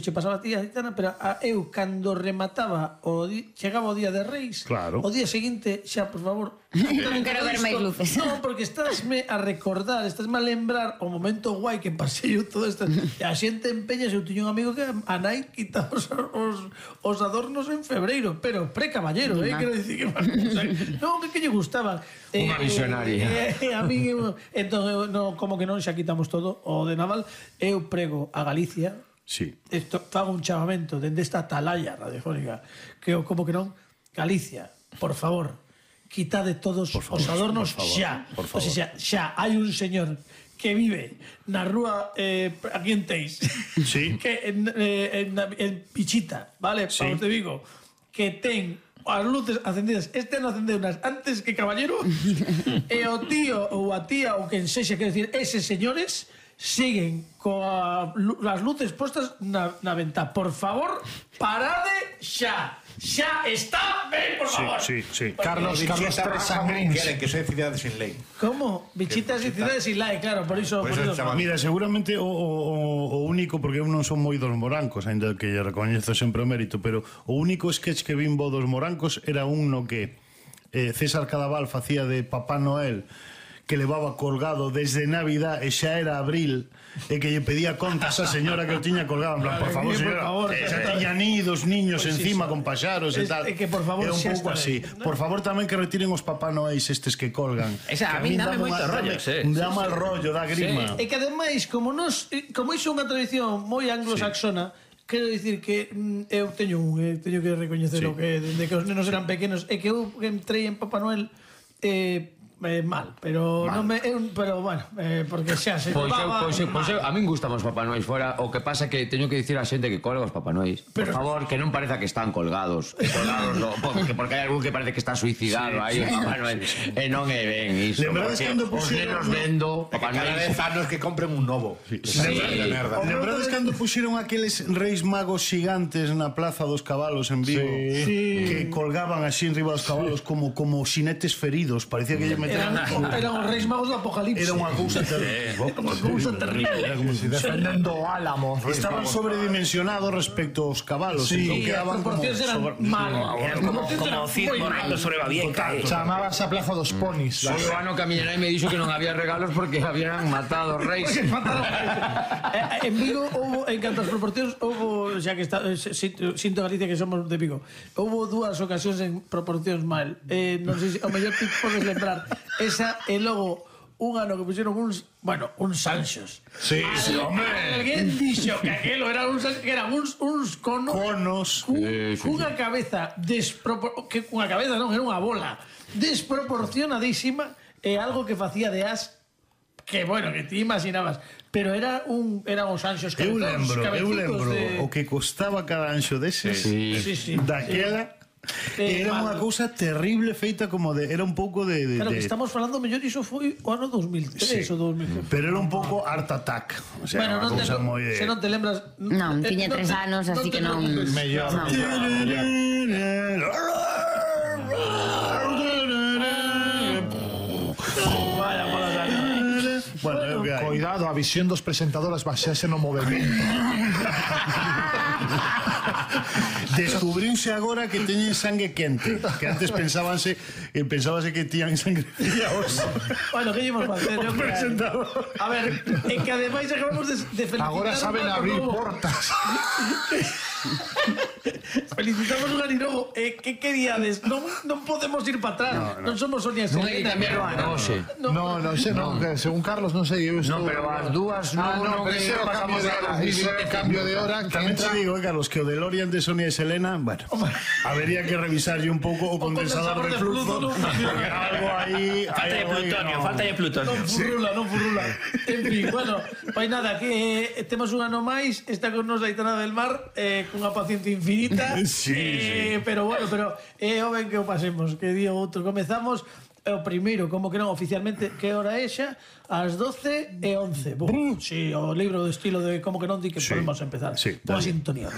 se pasaba a ti, Aitana, pero eu, cando remataba chegaba o día de Reis, claro. o día seguinte, xa, por favor, non quero ver máis luces. non, porque estásme a recordar, estásme a lembrar o momento guai que pasei eu todo isto, e a xente empeña, eu tiño un amigo que a nai quitaba os adornos en febreiro, pero pre-caballero, quero dicir que non, que lle gustaban. Unha visionaria. A mí, entón, como que non xa quitamos todo o de Naval, eu prego a Galicia. Sí. Esto, fago un chamamento dende esta atalaya radiofónica que eu, como que non, Galicia, por favor, quitade todos os adornos xa. O sea, xa hai un señor que vive na rúa aquí en Teis, sí. que en Pichita, vale, sí. Para os de Vigo, que ten as luces acendidas, este ano acendeu unas antes que Caballero, e o tío ou a tía ou quen sexa, quero decir, eses señores siguen as luces postas na ventá. Por favor, parade xa. Xa está ben, por favor. Sí. Carlos Tres Sangrins. Que soy cidade sin lei. Como? Bichitas e cidades sin lei, claro, por iso. Mira, seguramente o único, porque eu non son moi dos morancos, ainda que lle recoñezo sempre o mérito, pero o único sketch que vin bo dos morancos era un no que César Cadaval facía de Papá Noel, que levaba colgado desde Navidad e xa era abril, e que lle pedía contas a señora que o tiña colgado, en plan, por favor, señora, xa teña nidos niños encima con paxaros e tal. Que por favor, é un pouco así. Por favor, tamén que retiren os Papá Noéis estes que colgan. Esa, a mí dame moito rollo, dá mal rollo, dá grima. E que ademais, como iso é unha tradición moi anglosajona, quero dicir que eu teño que recoñecer o que desde que os nenos eran pequenos, e que eu entrei en Papá Noel mal, pero non me pero bueno, porque xa se Pois a min gustamos Papá Noéis fora. O que pasa que teño que dicir a xente que colga os Papá Noéis, por favor, que non pareza que están colgados, porque hai algún que parece que está suicidado aí, Papá Noel, e non é ben iso. Os nenos vendo Papá Noel, cada 10 anos que compren un novo. Lembrades cando puxeron aqueles reis magos xigantes na Plaza dos Cabalos en Vigo, que colgaban así enriba dos cabalos como xinetes feridos, parecía que lle eran os reis magos do apocalipse. Era unha cousa terrible. Era como si defendendo o álamo. Estaban sobredimensionados respecto aos cabalos. Sí, as proporcións eran mal. Como Cid morando sobre Babieca. Chamábase a Plaza dos Ponis. O ano que a miña nai me dixo que non había regalos porque habían matado os reis. En Vigo houve, en canto as proporcións, houve, xa que está sinto Galicia que somos de Vigo, houve dúas ocasións en proporcións mal. Non sei se o mellor te podes lembrar esa e logo un ano que pusieron uns Sanchos. Sí, hombre. Alguén dixo que aquelo eran uns conos cunha cabeza que cunha cabeza non, era unha bola desproporcionadísima e algo que facía de as que, bueno, que ti imaginabas, pero eran os anxos eu lembro o que costaba cada anxo deses daquela. Era unha cousa terrible feita como de... Era un pouco de... Claro, que estamos falando mellor, iso foi o ano 2003 ou 2004. Pero era un pouco Art Attack. O sea, bueno, non cousa moi... Se non te lembras... Non, tiña 3 anos, así que non... Mellor. Vaya, bueno, cuidado, a visión dos presentadoras basease no movimento. Descubriuse agora que teñen sangue quente, que antes pensábase que tiñan sangre fría. Bueno, que íbamos a facer? A ver, é que ademais acabamos de felicitar. Agora saben abrir portas. Felicitamos un aninovo. Que queríades? Non podemos ir para atrás. Non somos Sonia Non hai tamén Roanoxe. Non, según Carlos non sei. Non, pero as dúas non ese é o cambio de hora. Tamén te digo, Carlos, que o DeLorean de Sonia e Selena, bueno, habría que revisarlle un pouco o condensador de flujo. Algo aí... Falta de plutonio. Non furrula. En fin, bueno, pois nada, que temos un ano máis, está con nos Aitana del Mar, cunha paciencia infinita. Pero bueno, o ben que o pasemos, que día outro comezamos. O primeiro, como que non, oficialmente, que hora é xa? As 12:11. Si, o libro de estilo de como que non di que podemos empezar. Boa sintonía.